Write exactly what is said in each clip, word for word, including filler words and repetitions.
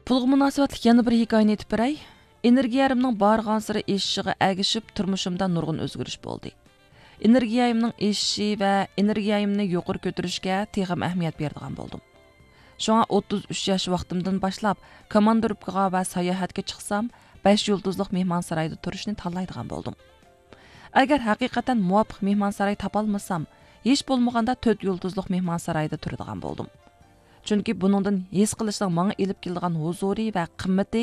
پۇلغا مۇناسىۋەتلىك يەنە بىر ھېكايىنى ئېيتىپ بېرەي. ئېنېرگىيەمنىڭ بارغانسېرى ئېشىشىغا ئەگىشىپ، تۇرمۇشۇمدا نۇرغۇن ئۆزگىرىش بولدى. ئېنېرگىيەمنىڭ ئېشىشى ۋە ئېنېرگىيەمنى يۇقىرى كۆتۈرۈشكە تېخىمۇ ئەھمىيەت بېرىدىغان بولدۇم. شۇڭا ئوتتۇز ئۈچ ياش ۋاقتىمدىن باشلاپ، كوماندىروپكىغا ۋە ساياھەتكە چىقسام، بەش يۇلتۇزلۇق مېھمانسارايدا تۇرۇشنى تاللايدىغان بولدۇم. ئەگەر ھەقىقەتەن مۇۋاپىق مېھمانساراي تاپالمىسام، ھېچ بولمىغاندا تۆت يۇلتۇزلۇق مېھمانسارايدا تۇرىدىغان بولدۇم. چۈنكى بۇنىڭدىن ھېس قىلىشنىڭ ماڭا ئېلىپ كېلىدىغان ھۇزۇرى ۋە قىممىتى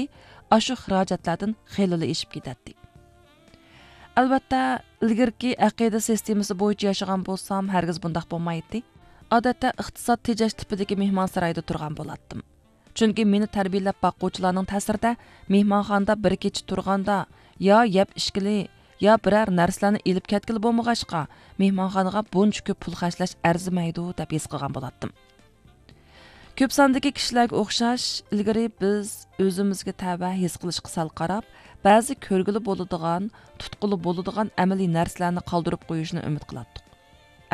ئاشۇ خىراجەتلەردىن خېلىلا ئېشىپ كېتەتتى. ئەلۋەتتە، ئىلگىرىكى ئەقىدە سىستېمىسى بويىچە ياشىغان بولسام، ھەرگىز بۇنداق بولمايتتى. ئادەتتە ئىقتىساد تېجەش تىپىدىكى مېھمانسارايدا تۇرغان بولاتتىم. چۈنكى مېنى تەربىيەلەپ باققۇچىلارنىڭ تەسىرىدە مېھمانخانىدا بىر كېچە تۇرغاندا، يا يەپ ئىچكىلى، يا بىرەر نەرسىلەرنى ئېلىپ كەتكىلى بولمىغاچقا، مېھمانخانىغا بۇنچە كۆپ پۇل خەجلەش ئەرزىمەيدۇ، دەپ ھېس قىلغان بولاتتىم. كۆپ ساندىكى كىشىلەرگە ئوخشاش، ئىلگىرى بىز ئۆزىمىزگە تەۋە ھېس قىلىشقا سەل قاراپ، بەزى كۆرگىلى بولىدىغان، تۇتقىلى بولىدىغان ئەمەلىي نەرسىلەرنى قالدۇرۇپ قويۇشنى ئۈمىد قىلاتتۇق.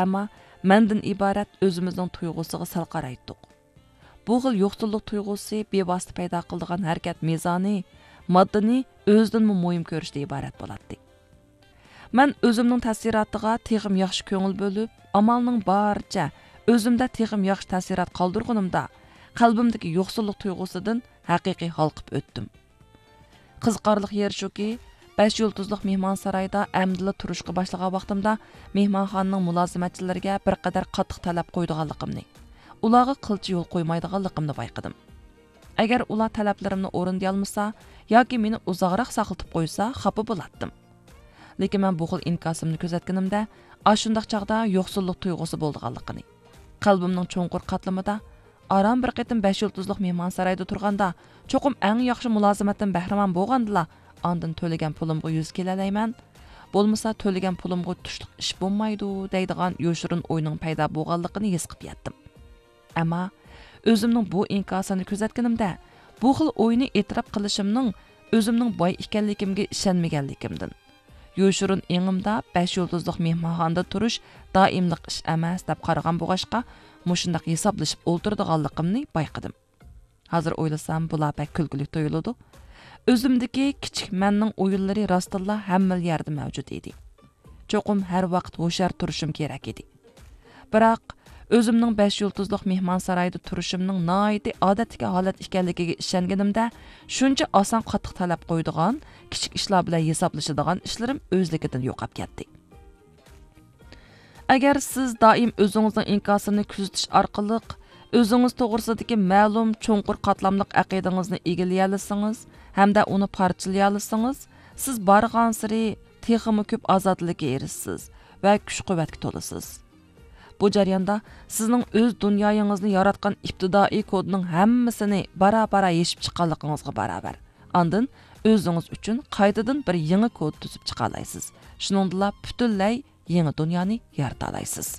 ئەمما مەندىن ئىبارەت ئۆزىمىزنىڭ تۇيغۇسىغا سەل قارايتتۇق. بۇ خىل يوقسۇللۇق تۇيغۇسى بىۋاسىتە پەيدا قىلىدىغان ھەرىكەت مىزانى ماددىنى ئۆزىدىنمۇ مۇھىم كۆرۈشتىن ئىبارەت بولاتتى. مەن ئۆزۈمنىڭ تەسىراتىغا تېخىمۇ ياخشى كۆڭۈل بۆلۈپ، ئامالنىڭ بارىچە ئۆزۈمدە تېخىمۇ ياخشى تەسىرات قالدۇرغىنىمدا، قەلبىمدىكى يوقسۇللۇق تۇيغۇسىدىن ھەقىقىي ھالقىپ ئۆتتۈم. قىزىقارلىق يېرى شۇكى، بەش يۇلتۇزلۇق مېھمانسارايدا ئەمدىلا تۇرۇشقا باشلىغان ۋاقتىمدا مېھمانخانىنىڭ مۇلازىمەتچىلىرىگە بىر قەدەر قاتتىق تەلەپ قويىدىغانلىقىمنى، ئۇلارغا قىلچە يول قويمايدىغانلىقىمنى بايقىدىم. ئەگەر ئۇلار تەلەپلىرىمنى ئورۇندىيالمىسا ياكى مېنى ئۇزاقراق ساقلىتىپ قويسا، خاپا بولاتتىم. لېكىن مەن بۇ خىل ئىنكاسىمنى كۆزەتكىنىمدە، ئاشۇنداق چاغدا يوقسۇللۇق تۇيغۇسى بولىدىغانلىقىنى، قەلبىمنىڭ چوڭقۇر قاتلىمىدا، ئاران بىر قېتىم بەش يۇلتۇزلۇق مېھمانسارايدا تۇرغاندا، چوقۇم ئەڭ ياخشى مۇلازىمەتتىن بەھرىمەن بولغاندىلا، ئاندىن تۆلىگەن پۇلۇمغا يۈز كېلەلەيمەن، بولمىسا تۆلىگەن پۇلۇمغا تۇشلۇق ئىش بولمايدۇ، دەيدىغان يوشۇرۇن ئوينىڭ پەيدا بولغانلىقىنى ھېس قىلىپ يەتتىم. ئەمما ئۆزۈمنىڭ بۇ ئىنكاسىنى كۆزەتكىنىمدە، بۇ خىل ئوينى ئېتىراپ قىلىشىمنىڭ ئۆزۈمنىڭ باي ئىكەنلىكىمگە ئىشەنمىگەنلىكىمدىن، يوشۇرۇن ئېڭىمدا بەش يۇلتۇزلۇق مېھمانخانىدا تۇرۇش دائىملىق ئىش ئەمەس دەپ قارىغان بولغاچقا، مۇشۇنداق ھېسابلىشىپ ئولتۇرىدىغانلىقىمنى بايقىدىم. ھازىر ئويلىسام، بۇلار بەك كۈلكىلىك تۇيۇلىدۇ. ئۆزۈمدىكى كىچىك مەننىڭ ئويۇنلىرى راستتىنلا ھەممىلا يەردە مەۋجۇت ئىدى. چوقۇم ھەر ۋاقىت ھوشيار تۇرۇشۇم كېرەك ئىدى. بىراق، ئۆزۈمنىڭ بەش يۇلتۇزلۇق مېھمانسارايدا تۇرۇشۇمنىڭ ناھايىتى ئادەتتىكى ھالەت ئىكەنلىكىگە ئىشەنگىنىمدە، شۇنچە ئاسان قاتتىق تەلەپ قويىدىغان، كىچىك ئىشلار بىلەن ھېسابلىشىدىغان ئىشلىرىم ئۆزلۈكىدىن يوقاپ كەتتى. ئەگەر سىز دائىم ئۆزىڭىزنىڭ ئىنكاسىنى كۆزىتىش ئارقىلىق ئۆزىڭىز توغرىسىدىكى مەلۇم چوڭقۇر قاتلاملىق ئەقىدىڭىزنى ئىگىلىيەلىسىڭىز ھەمدە ئۇنى پارچىلىيالىسىڭىز، سىز بارغانسېرى تېخىمۇ كۆپ ئازادىلىككە ئېرىشىسىز ۋە كۈچ-قۇۋۋەتكە تولىسىز. بۇ جەرياندا سىزنىڭ ئۆز دۇنيايىڭىزنى ياراتقان ئىپتىدائىي كودنىڭ ھەممىسىنى بارا-بارا يېشىپ چىققانلىقىڭىزغا باراۋەر. ئاندىن ئۆزىڭىز ئۈچۈن قايتىدىن بىر يېڭى كود تۈزۈپ چىقالايسىز. شۇنىڭدىلا پۈتۈنلەي يېڭى دۇنيانى يارىتالايسىز.